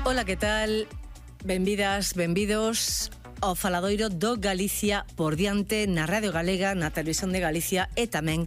Ola, que tal? Benvidas, benvidos ao faladoiro do Galicia por diante na Radio Galega, na Televisión de Galicia e tamén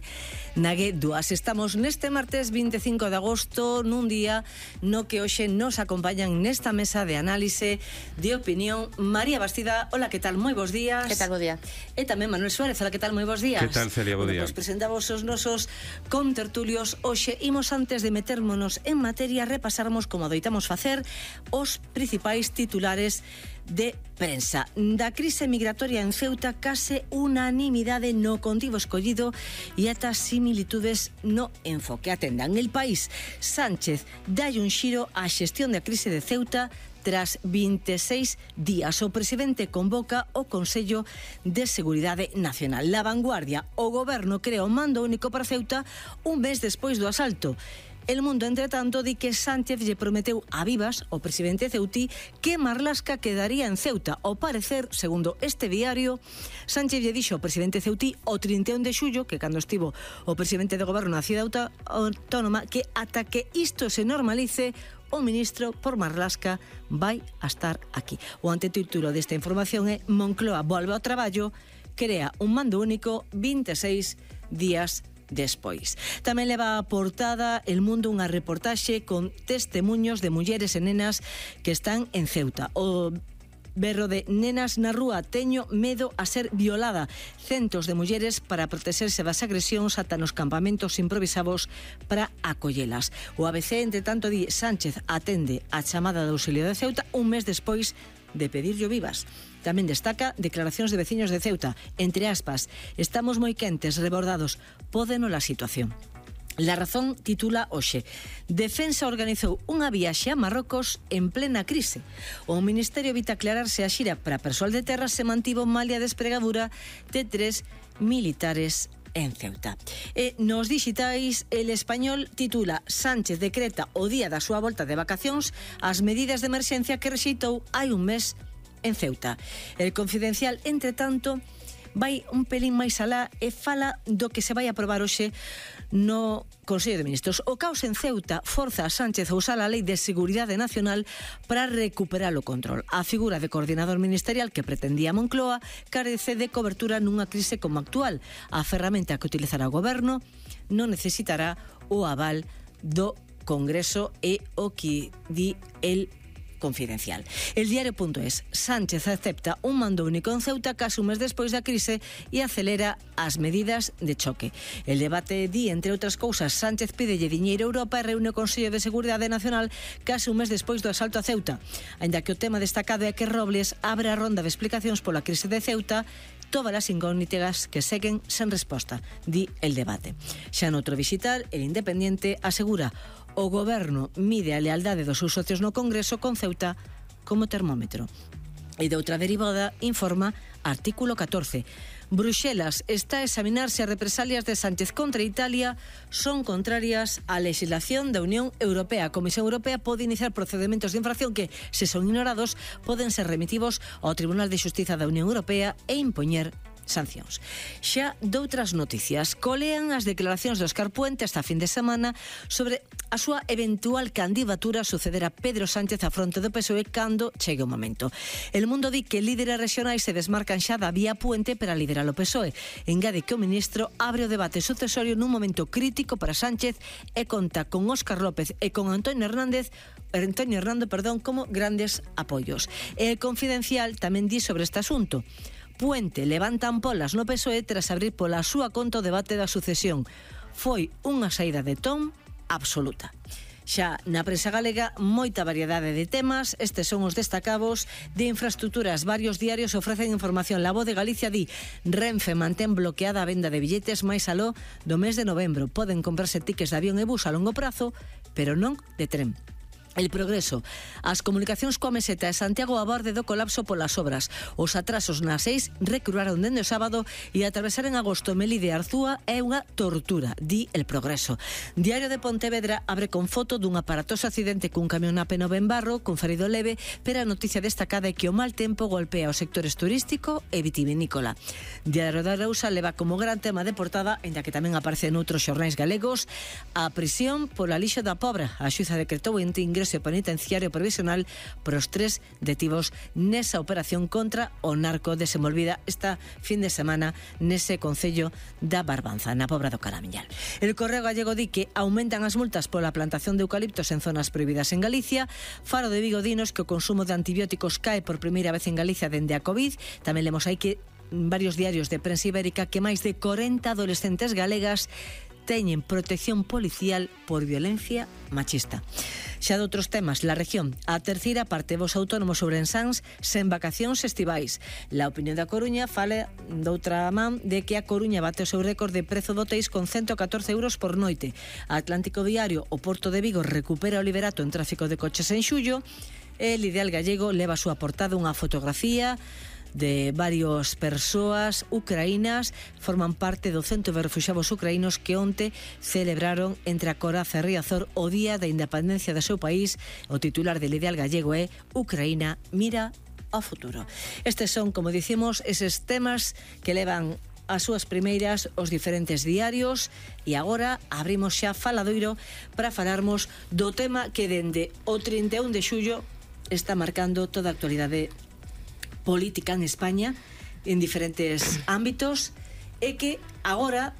na G2. Estamos neste martes 25 de agosto nun día no que hoxe nos acompañan nesta mesa de análise de opinión María Bastida. Ola, que tal? Moi bons días. Que tal, bo día. E tamén Manuel Suárez. Ola, que tal? Moi bons días. Que tal, Celia? Bo día. Pois presentamos os nosos contertulios. Hoxe imos, antes de metermonos en materia, repasarmos, como adoitamos facer, os principais titulares de prensa. Da crise migratoria en Ceuta, case unanimidade no contido escollido e ata similitudes no enfoque. Atendan, El País: Sánchez dalle un xiro á xestión da crise de Ceuta tras 26 días. O presidente convoca o Consello de Seguridade Nacional. La Vanguardia: o goberno crea un mando único para Ceuta un mes despois do asalto. El Mundo, entre tanto, di que Sánchez lle prometeu a Vivas, o presidente ceutí, que Marlaska quedaría en Ceuta. Ao parecer, segundo este diario, Sánchez lle dixo ao presidente ceutí o 31 de xullo, que cando estivo o presidente de goberno na cidade autónoma, que ata que isto se normalice, o ministro por Marlaska vai a estar aquí. O antetítulo desta información é: Moncloa volve ao traballo, crea un mando único 26 días despois. Tamén leva a portada El Mundo unha reportaxe con testemuños de mulleres e nenas que están en Ceuta. O berro de nenas na rúa: teño medo a ser violada. Centos de mulleres para protexerse das agresións ata nos campamentos improvisados para acollelas. O ABC, entre tanto, di: Sánchez atende a chamada de auxilio de Ceuta un mes despois de pedirllo Vivas. Tamén destaca declaracións de veciños de Ceuta, entre aspas: estamos moi quentes, rebordados, pódenos a situación. La Razón titula hoxe: Defensa organizou unha viaxe a Marrocos en plena crise. O Ministerio evita aclararse a xira para persoal de terra se mantivo malia despregadura de 3 militares en Ceuta. E nos dixitais, El Español titula: Sánchez decreta o día da súa volta de vacacións as medidas de emerxencia que rexeitou hai un mes en Ceuta. El Confidencial, entre tanto, vai un pelín máis alá e fala do que se vai aprobar hoxe no Consello de Ministros. O caos en Ceuta forza a Sánchez a usar a Lei de Seguridade Nacional para recuperar o control. A figura de coordinador ministerial que pretendía Moncloa carece de cobertura nunha crise como a actual. A ferramenta que utilizará o goberno non necesitará o aval do Congreso, e o que di el Confidencial. El Diario.es: Sánchez acepta un mando único en Ceuta case un mes despois da crise e acelera as medidas de choque. El Debate di, entre outras cousas: Sánchez pídelle diñeiro a Europa e reúne o Consello de Seguridade Nacional case un mes despois do asalto a Ceuta. Aínda que o tema destacado é que Robles abre a ronda de explicacións pola crise de Ceuta, todas as incógnitas que seguen sen resposta, di El Debate. Xa noutro visitar, El Independiente asegura: o goberno mide a lealdade dos seus socios no Congreso con Ceuta como termómetro. E de outra derivada informa Artículo 14. Bruxelas está a examinar se as represalias de Sánchez contra Italia son contrarias á legislación da Unión Europea. A Comisión Europea pode iniciar procedementos de infracción que, se son ignorados, poden ser remitidos ao Tribunal de Xustiza da Unión Europea e impoñer sancións. Xa doutras noticias: colean as declaracións de Óscar Puente esta fin de semana sobre a súa eventual candidatura a suceder a Pedro Sánchez a fronte do PSOE cando chegue o momento. El Mundo di que líderes rexionais se desmarcan xa da vía Puente para liderar o PSOE. Engade que o ministro abre o debate sucesorio nun momento crítico para Sánchez e conta con Óscar López e con Antonio Hernando como grandes apoios. El Confidencial tamén di sobre este asunto: Puente levanta ampolas no PSOE tras abrir pola súa conta o debate da sucesión. Foi unha saída de ton absoluta. Xa na prensa galega, moita variedade de temas. Estes son os destacados. De infraestructuras, varios diarios ofrecen información. La Voz de Galicia di: Renfe mantén bloqueada a venda de billetes máis aló do mes de novembro. Poden comprarse tickets de avión e bus a longo prazo, pero non de tren. El Progreso: as comunicacións coa Meseta e Santiago a borde do colapso polas obras. Os atrasos nas 6 recruaron dende o sábado e atravesar en agosto Melide e Arzúa é unha tortura, di El Progreso. Diario de Pontevedra abre con foto dun aparatoso accidente cun camión na P9 en Barro, con ferido leve, pero a noticia destacada é que o mal tempo golpea os sectores turístico e vitivinícola. Diario da Arousa leva como gran tema de portada, ainda que tamén aparece noutros xornais galegos, a prisión pola lixo da Pobra. A xuza decretou entre ingreso ese penitenciario provisional para os 3 detidos nesa operación contra o narco desenvolvida esta fin de semana nese concello da Barbanza, na Pobra do Caramiñal. El Correo Gallego di que aumentan as multas pola plantación de eucaliptos en zonas prohibidas en Galicia. Faro de Vigo dinos que o consumo de antibióticos cae por primeira vez en Galicia dende a COVID. Tamén lemos aí que varios diarios de prensa ibérica que máis de 40 adolescentes galegas teñen protección policial por violencia machista. Xa de outros temas, la región, a terceira parte vos autónomos ourensans sen vacacións estivais. La Opinión da Coruña fala doutra man de que a Coruña bate o seu récord de prezo de hotéis con 114 euros por noite. Atlántico Diario, o Porto de Vigo recupera o liberato en tráfico de coches en xullo. El Ideal Gallego leva a súa portada unha fotografía de varias persoas ucraínas, forman parte do Centro de Refuxiados Ucraínos que onte celebraron entre a Coraza e Riazor o Día da Independencia do seu país. O titular del Ideal Gallego é Ucraína mira ao futuro. Estes son, como dicimos, eses temas que levan as súas primeiras os diferentes diarios e agora abrimos xa faladoiro para falarmos do tema que dende o 31 de xullo está marcando toda a actualidade política en España en diferentes ámbitos e que agora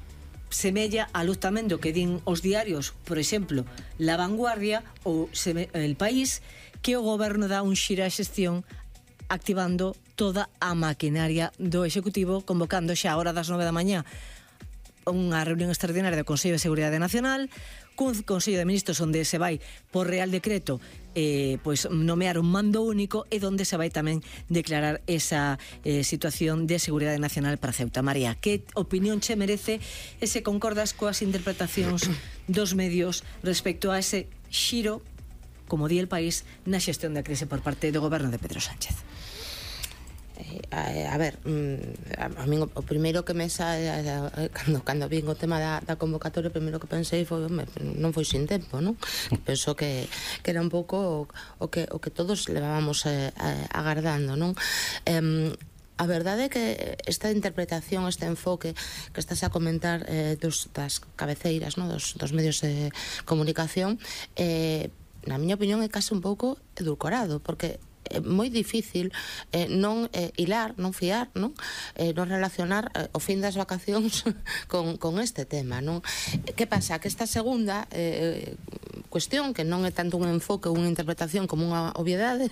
semella a luz tamén do que din os diarios, por exemplo, La Vanguardia ou El País, que o goberno dá un xiro á xestión activando toda a maquinaria do Executivo, convocando xa a hora das 9 da mañá unha reunión extraordinaria do Consello de Seguridade Nacional, cun Consello de Ministros onde se vai por Real Decreto pois nomear un mando único e onde se vai tamén declarar esa situación de seguridade nacional para Ceuta. María, que opinión che merece e se concordas coas interpretacións dos medios respecto a ese xiro, como di El País, na xestión da crise por parte do goberno de Pedro Sánchez? A ver, a min o primeiro que me sae cando vin o tema da convocatoria, o primeiro que pensei foi non foi sin tempo, non? Penso que era un pouco o que todos levábamos agardando, non? A verdade é que esta interpretación, este enfoque que estás a comentar das cabeceiras, non? Dos medios de comunicación, na miña opinión é case un pouco edulcorado, porque é moi difícil non hilar, non fiar, non relacionar o fin das vacacións con este tema, non? Que pasa? Que esta segunda cuestión, que non é tanto un enfoque ou unha interpretación como unha obviedade,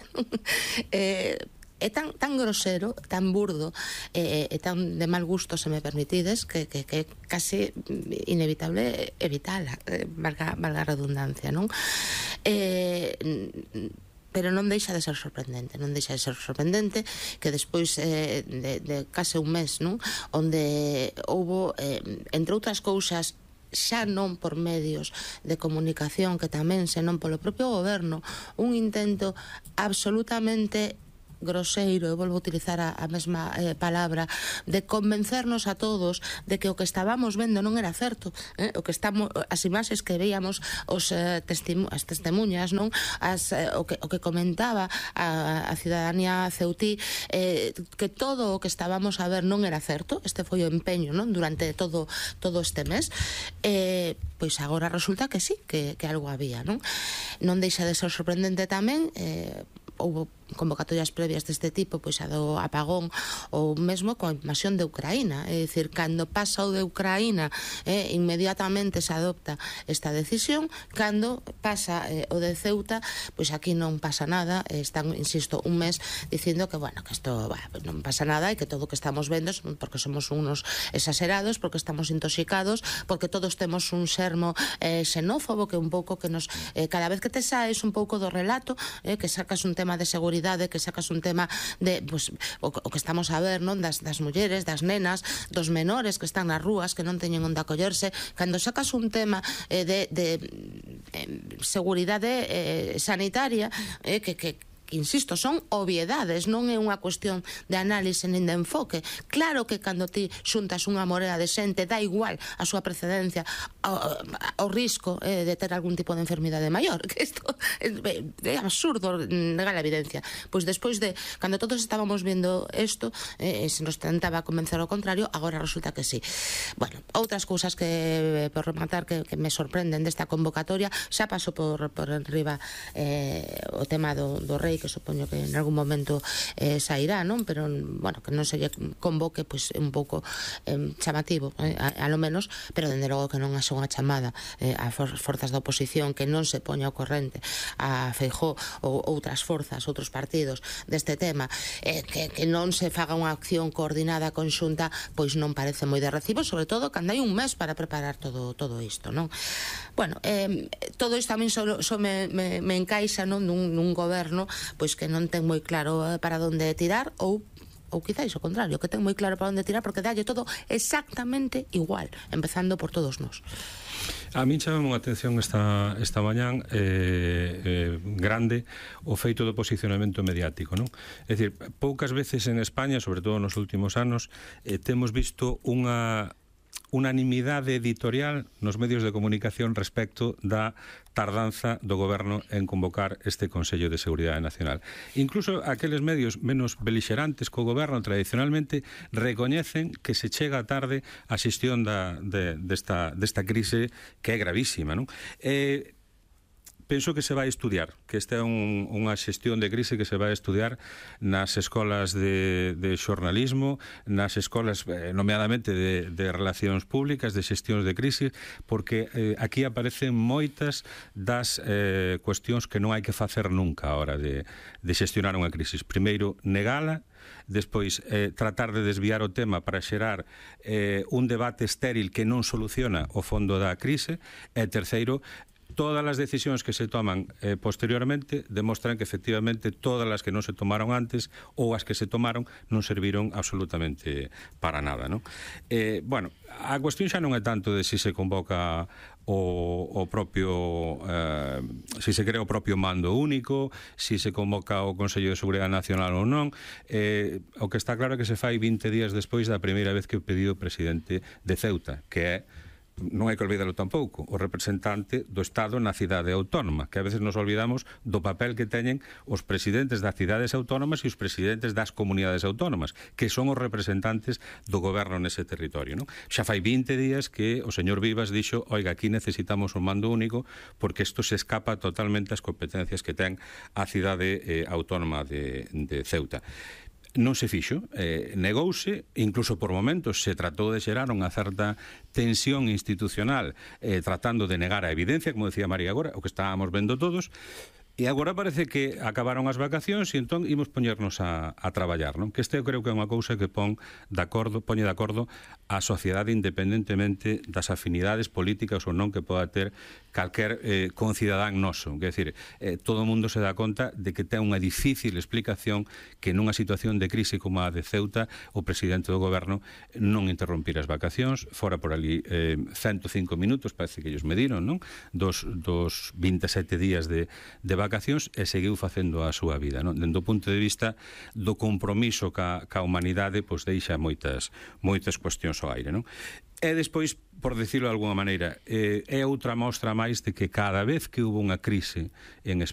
é tan grosero, tan burdo e tan de mal gusto, se me permitides, que é casi inevitable evitala, valga a redundancia, non? Pero non deixa de ser sorprendente, que despois de case un mes, non, onde houbo, entre outras cousas, xa non por medios de comunicación, que tamén senón polo propio goberno, un intento absolutamente groseiro, eu volvo a utilizar a mesma palabra, de convencernos a todos de que o que estábamos vendo non era certo, o que estamos, as imaxes que veíamos, as testemunhas, non, o que comentaba a cidadanía ceutí, que todo o que estábamos a ver non era certo. Este foi o empeño, non, durante todo este mes. Pois agora resulta que sí, que algo había, non? Non deixa de ser sorprendente tamén, houve convocatorias previas deste tipo, pois a do apagón ou mesmo coa invasión de Ucraína, é dicir, cando pasa o de Ucraína inmediatamente se adopta esta decisión, cando pasa o de Ceuta, pois aquí non pasa nada, están, insisto, un mes dicindo que, bueno, que isto non pasa nada e que todo o que estamos vendo porque somos unos exagerados, porque estamos intoxicados, porque todos temos un xermo xenófobo, que un pouco que nos, cada vez que te saes un pouco do relato, que sacas un tema de seguridade, que sacas un tema de, pues, o que estamos a ver, non, das mulleres, das nenas, dos menores que están nas rúas, que non teñen onde acollerse, cando sacas un tema de seguridade sanitaria, que que insisto, son obviedades, non é unha cuestión de análise nin de enfoque. Claro que cando ti xuntas unha morea de xente, dá igual a súa precedencia ao risco de ter algún tipo de enfermidade maior, que isto é absurdo negar a evidencia. Pois despois de, cando todos estábamos vendo isto, se nos tentaba convencer ao contrario, agora resulta que sí. Bueno, outras cousas que, por rematar, que me sorprenden desta convocatoria, xa paso por enriba o tema do rei, que supoño que en algún momento sairá, non? Pero, bueno, que non se lle convoque, pois un pouco chamativo, a lo menos, pero dende logo que non haxa unha chamada a forzas da oposición, que non se poña ao corrente a Feijóo ou outras forzas, outros partidos deste tema, que non se faga unha acción coordinada conxunta, pois non parece moi de recibo, sobre todo cando hai un mes para preparar todo isto, non? Bueno, todo isto a min só me encaixa, non, nun goberno pois que non ten moi claro para onde tirar, ou quizáis o contrario, que ten moi claro para onde tirar, porque dalle todo exactamente igual, empezando por todos nós. A min chamame unha atención esta mañán grande o feito do posicionamento mediático, non? É dicir, poucas veces en España, sobre todo nos últimos anos, temos visto unha unanimidade editorial nos medios de comunicación respecto da tardanza do goberno en convocar este Consello de Seguridade Nacional. Incluso aqueles medios menos belixerantes co goberno tradicionalmente recoñecen que se chega tarde a xestión desta crise, que é gravísima, non? Penso que se vai estudiar, que esta é unha xestión de crise que se vai estudiar nas escolas de xornalismo, nas escolas nomeadamente de relacións públicas, de xestións de crise, porque aquí aparecen moitas das cuestións que non hai que facer nunca a hora de xestionar unha crise. Primeiro, negala, despois tratar de desviar o tema para xerar un debate estéril que non soluciona o fondo da crise, e terceiro, todas as decisións que se toman posteriormente demostran que efectivamente todas as que non se tomaron antes ou as que se tomaron non serviron absolutamente para nada, non? Bueno, a cuestión xa non é tanto de se convoca o propio se crea o propio mando único, se convoca o Consello de Seguridade Nacional ou non. O que está claro é que se fai 20 días despois da primeira vez que o pediu o presidente de Ceuta, que é, non hai que olvidalo tampouco, o representante do Estado na cidade autónoma, que a veces nos olvidamos do papel que teñen os presidentes das cidades autónomas e os presidentes das comunidades autónomas, que son os representantes do goberno nese territorio, non? Xa fai 20 días que o señor Vivas dixo, oiga, aquí necesitamos un mando único porque isto se escapa totalmente ás competencias que ten a cidade autónoma de Ceuta. Non se fixo, negouse, incluso por momentos se tratou de xerar unha certa tensión institucional tratando de negar a evidencia, como decía María agora, o que estábamos vendo todos. E agora parece que acabaron as vacacións e entón imos poñernos a traballar, non? Que este eu creo que é unha cousa que poñe de acordo a sociedade independentemente das afinidades políticas ou non que poda ter calquer concidadán noso. Quer decir, todo o mundo se dá conta de que ten unha difícil explicación que nunha situación de crise como a de Ceuta o presidente do goberno non interrompir as vacacións, fora por ali 105 minutos, parece que ellos mediron, non? Dos 27 días de vacacións e seguiu facendo a súa vida, non? Dende o punto de vista do compromiso ca humanidade, pois deixa moitas cuestións ao aire, non? E despois, por decirlo de alguna maneira, é outra mostra máis de que cada vez que hubo unha crise en España,